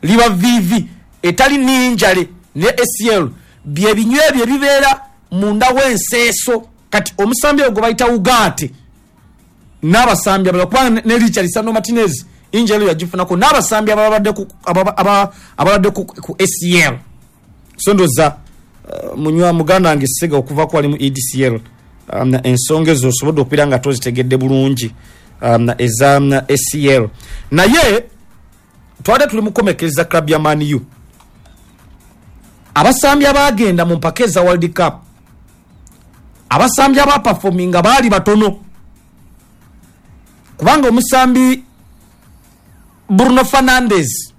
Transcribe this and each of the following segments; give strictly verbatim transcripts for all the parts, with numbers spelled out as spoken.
Liba V V etali ninjale ne A C L, byebinywa ebyo ebibeera munda w'enseeso. Kati omusambi ogwo bayita Ugarte n'abasambi abalala, kubanga ne Richard Martinez injury yagifunako, n'abasambi abalabadde ku A C L. So ndoza uh, munywa muganda wange Sega okuva ku ali mu E D C L, um, ensonga ezo osobodde okubeera nga tozitegedde bulungi, um, eza um, A C L. Naye twabadde tuli mukomekereza club ya Man U, abasambi abagenda mu mpaka eza World Cup, abasambi abaperforminga baali batono, kubanga omusambi Bruno Fernandes,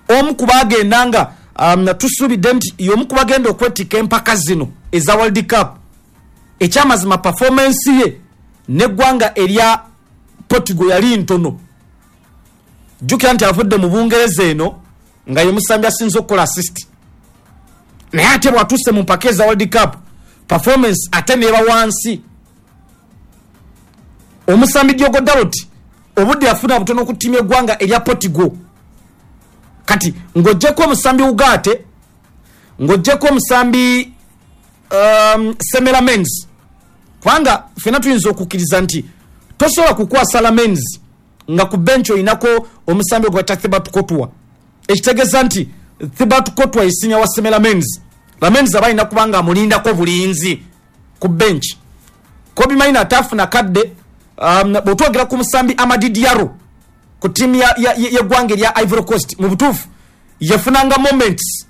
omu kubagenda nga um, tusuubidde nti y'omu kubagenda okwetikka empaka zino eza World Cup, ekyamazima performance ye neggwanga erya Portugal yali ntono. Jjukira nti avudde mu Bungereza eno nga ye musambi asinze okukola assist, naye ate bwatuuse mu mpaka eza World Cup performance ate neeba wansi. Omusambi Diogo Dalot obudde yafuna butono ku ttiimu eggwanga erya Portugal. Kati ng'oggyeko omusambi Ugarte, ng'oggyeko omusambi um, Senne Lammens, kubanga ffena tuyinza okukkiriza nti tosobola kukwasa Lammens nga ku bench oyinako omusambi ogwata Thibaut Courtois, ekitegeeza nti Thibaut Courtois ye senior wa Senne Lammens. Lammens aba alina kubanga amulindako bulinzi ku bench. Kobbie Mainoo ataafuna kadde. um, bwetwogera ku musambi Amad Diallo ku ttiimu yeggwanga erya Ivory Coast, mu butuufu yafunanga moments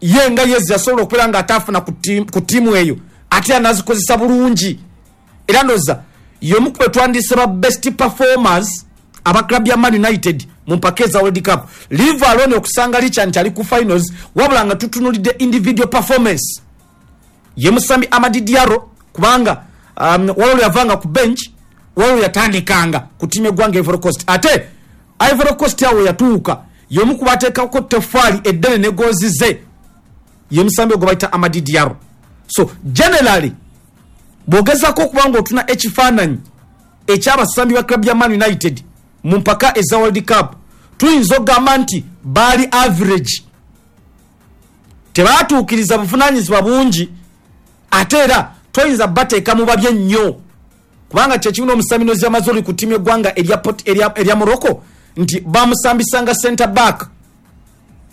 ye nga yezi yasobola okubeera nga ataafuna ku ttiimu eyo, ate anazikozesa bulungi. Era ndoza y'omu ku betwandise ba best performers aba club ya Man United mu mpaka eza World Cup, leave alone okusanga licha nti ali ku finals, wabula nga tutunulidde individual performance ye musambi Amad Diallo, kubanga um, waliwo yavanga ku bench, waliwo yatandikanga ku ttiimu eggwanga Ivory Coast. Ate Ivory Coast awo yatuuka y'omu ku bateekako teffaali eddene ne goozi ze, ye musambi ogwo bayita Amad Diallo. So generally bw'ogezaako okuba nga otuna ekifaananyi ekyabasambi ba club ya Man United mu mpaka eza World Cup, tuyinza okugamba nti baali average, tebaatuukiriza buvunaanyizibwa bungi, ate era toyinza bateeka mu babye nnyo, kubanga kyekimu n'omusambi Noussair Mazraoui ku ttiimu eggwanga erya Morocco, nti bamusambisanga center back,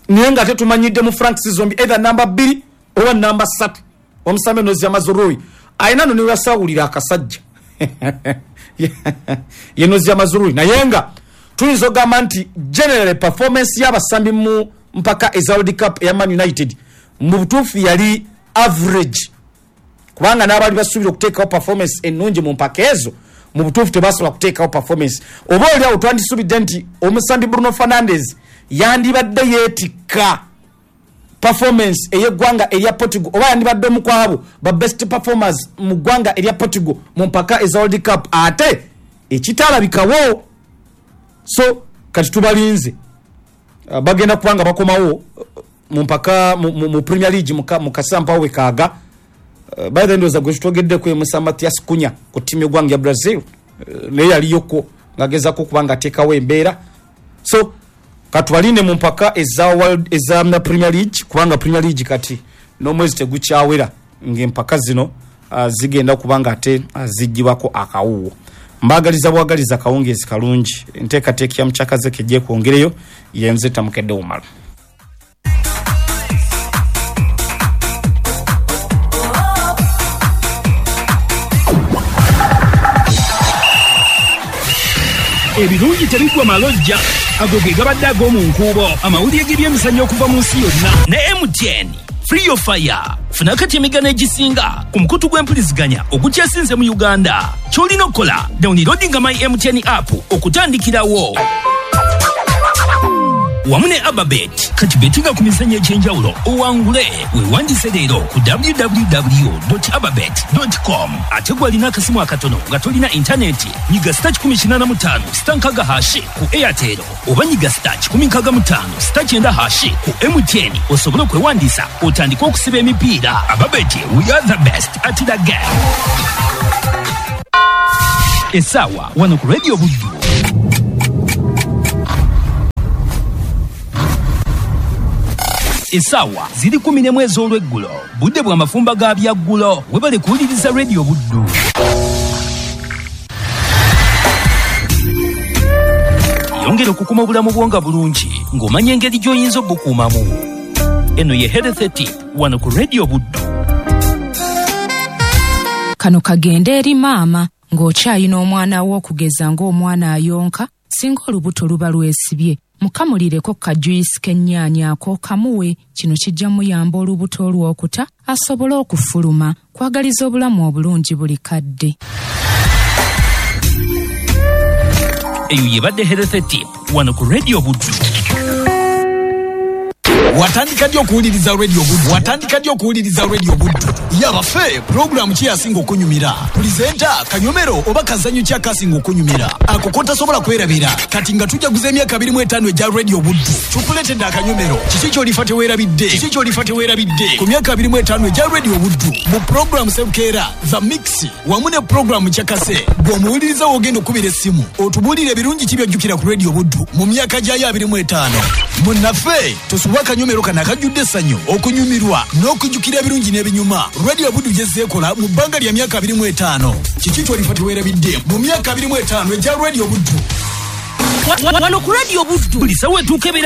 naye nga tetumanyidde mu flanks zombi, either namba bbiri oba namba ssatu. Omusambi Noussair Mazraoui ayina no newasawulira akasajja ye Noussair Mazraoui. Naye nga tuyinza okugamba nti general performance y'abasambi mu mpaka eza World Cup eya Man United mu butuufu yali average, kubanga n'abaali basuubira okuteekawo performance ennungi mu mpaka ezo mu butuufu tebasobola kuteekawo performance. Oba oli awo twandisuubidde nti omusambi Bruno Fernandes yandibadde yeetikka performance ey'eggwanga erya Portugal, oba yandibadde omu ku abo ba best performers mu ggwanga erya Portugal mu mpaka eza World Cup, ate ekitalabikawo. So kati tubalinze, uh, bagenda kubanga bakomawo uh, mu mpaka mu, mu, mu Premier League mu kasampawo wekaaga. uh, by the ndowooza gwe tutogeddeko ye musa Matheus Cunha ku ttiimu y'eggwanga ya Brazil, uh, naye yaliyoko ng'agezaako okuba nga ateekawo embeera. So katubalinde mu mpaka eza world eza Premier League, kubanga Premier League kati n'omwezi tegukyawera ng'empaka zino uh, zigenda kubanga ate uh, zijjibwako akawuwo. Mbagaliza bwagaliza akawungeezi kalungi. Enteekateeka ya mukyakaze kejje kwongereyo. Yenze Tamukedde Umala. Ebirungi tebiggwa malojja, ago ge gabadde ag'omu nkuubo, amawulire g'ebyemizannyo okuva mu nsi yonna ne M T N Free Your Fire. Funa kati emigano egisinga ku mukutu gw'empuliziganya ogukyasinze mu Uganda. Ky'olina okukola, downloadinga My M T N app okutandikirawo wamu ne Ababet. Kati betinga ku mizannyo egy'enjawulo owangule. Weewandise leero ku W W W ababet com. Ate gwalina akasimu akatono nga tolina intaneti, nyiga star kikumi kinaana mu ttaano star nkaaga hash ku Airtel, oba nyiga star kikumi nkaaga mu ttaano star kyenda hash ku M T N osobole okwewandiisa otandike okusiba emipiira. Ababet, we are the best at the game. Essaawa wano ku Radio Buddu. Essaawa ziri kumi n'emu ez'olweggulo, budde bwa mafumba ga byaggulo. Webale kuwuliriza Radio Buddu. Yongera okukuma obulamu bwo nga bulungi ng'omanya engeri gy'oyinza obukuumamu. Eno ye Health Tip wano ku Radio Buddu. Kano kagende eri maama ng'okyayina omwana wo okugeza ng'omwana ayonka, singa olubuto luba lwesibye, mukamulireko kajuyisi k'ennyaanya ako kamuwe. Kino kijja muyamba olubuto olw'okuta asobole okufuluma. Kwagaliza obulamu obulungi buli kadde. Eyo yebadde Health Tip wano ku Radio Buddu. Watandika ddi okuwuliriza Radio Buddu? Watandika ddi okuwuliriza Radio Buddu? Yabaffe, pulogulaamu ki yasinga okunyumira? Pulizenta, kanyomero oba kazannyo ki akasinga okunyumira? Ako kotasobola kwerabira. Kati nga tujaguza emyaka abiri mu etaano egya Radio Buddu, tukuleetedde akanyomero. Kiki ky'olifa teweerabidde? Kiki ky'olifa teweerabidde? Ku myaka abiri mu etaano egya Radio Buddu, mu pulogulaamu Sebukeera, The Mix, wamu ne pulogulaamu Kyakase, bw'omuwuliriza w'ogenda okubira essimu, otubuulire ebirungi ki by'ojjukira ku Radio Buddu mu myaka gyayo abiri mu etaano. Munnaffe, tosubwa akanyomero kano akajjudde essanyu, okunyumirwa n'okujjukira ebirungi n'ebinyuma Radio Buddu gyezzeekola mu bbanga lya myaka abiri mu etaano. Kiki ky'olifa teweerabidde mu myaka abiri mu etaano egya Radio Buddu? Wano ku Radio Buddu buli ssaawa etuuka ebeera